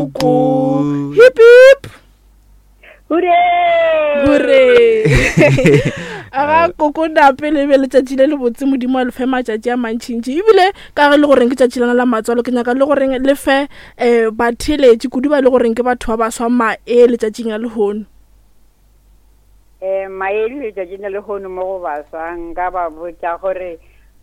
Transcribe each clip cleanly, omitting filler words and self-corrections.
Koko. Hip hip. Hooray! Hooray! Aga koko nape le be letšatši le lebotse modimo a le fe matšatši a mantšintši ebile ka ge le goreng ke tšatši lena la matswalo ke nyaka le goreng le fe um batheeletši kudu ba le goreng ke batho ba baswa mae letšatšing la lehono. Um mae letšatšing la lehono mo go baswa nka ba botša gore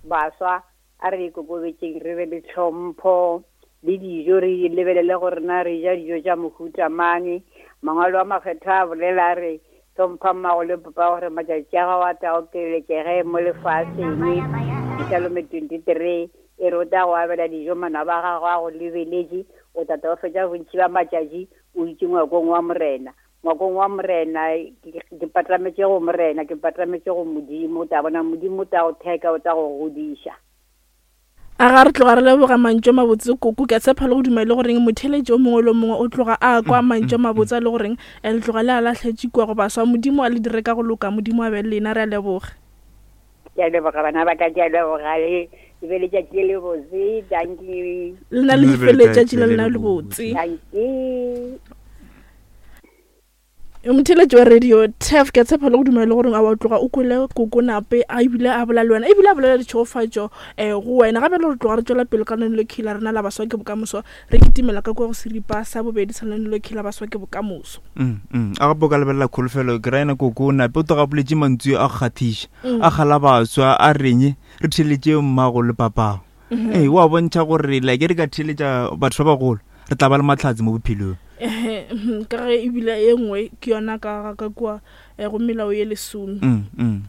baswa A re ikokobetšeng, re be le tlhompho, le dijo re lebelele gore na re ja dijo tša mohuta mang. Mangwalo a Makgethwa a bolela a re, Hlompha mmago le papago gore matšatši a gago a tle a okeletšege mo lefaseng. Psalme 23 e re o tla go abela dijo manaba a gago a go lebeletše, o tla tla o fetša bontši bja matšatši o dutše ngwakong wa Morena. Ngwakong wa Morena, ke, ke patametše go Morena, ke patametše go Modimo. O tla bona Modimo o tla go theka, o tla go godiša. A ga re tloga re leboga mantšu a mabotse koko. Ke a tshepa le go duma e le goreng motheeletši o mongwe le o mongwe o tloga a kwa mantšu a mabotse a le goreng eh, le tloga le a lahletše kua go baswa. Modimo a le dire ka go loka, Modimo a be le lena. Re a leboga. Ke a leboga bana ba ka, ke a leboga le le be letšatši le lebotse. Dankie. Le na le fe letšatši la lena lebotse. Dankie. Motheeletši wa radio tef ke a tshepa le go dumela le gore a wa tloga o kwele kokonape a ebile a bola le wena ebile a bolela ditšhegofatšo um go wena gape le re tloga re tšwela pele ka lenaneo le la rena la baswa ke bokamoso re kitimela ka kua go seripa sa bobedi sa lenaneo le la baswa ke bokamoso mm, mm. a gape o ka lebelela kholofelo ke ra ena kokonape o tloga boletse mantsu a go kgathiša mm. a kgala baswa a reng re theletše mmago le papago mm-hmm. ee wa bontšha gore like re ka theletša batho ba bagolo re tla ba le matlhatsi mo bophelong mhm, ka ge ebile e nngwe ke yona ka ka kua eh, go melao ye lesome mm, mm.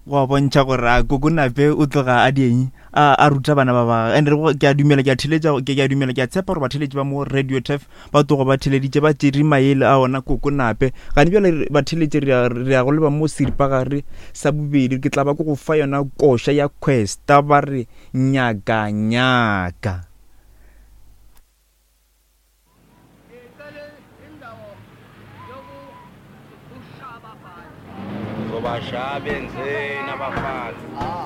Go bontšha gore a kokonape o tloga a dieng a ruta bana ba ba and ke a dumela ke a theletša ke a dumela ke a tshepa gore batheletši ba mo radio tef ba tloga ba theleditše ba tšere maele a ona kokonape gane bjale batheletši re ya go leba mo seripagare sa bobedi ke tla ba ke go fa yona koša ya questa ba re nyaka nyaka. Ngizobashaya benzeni abafana.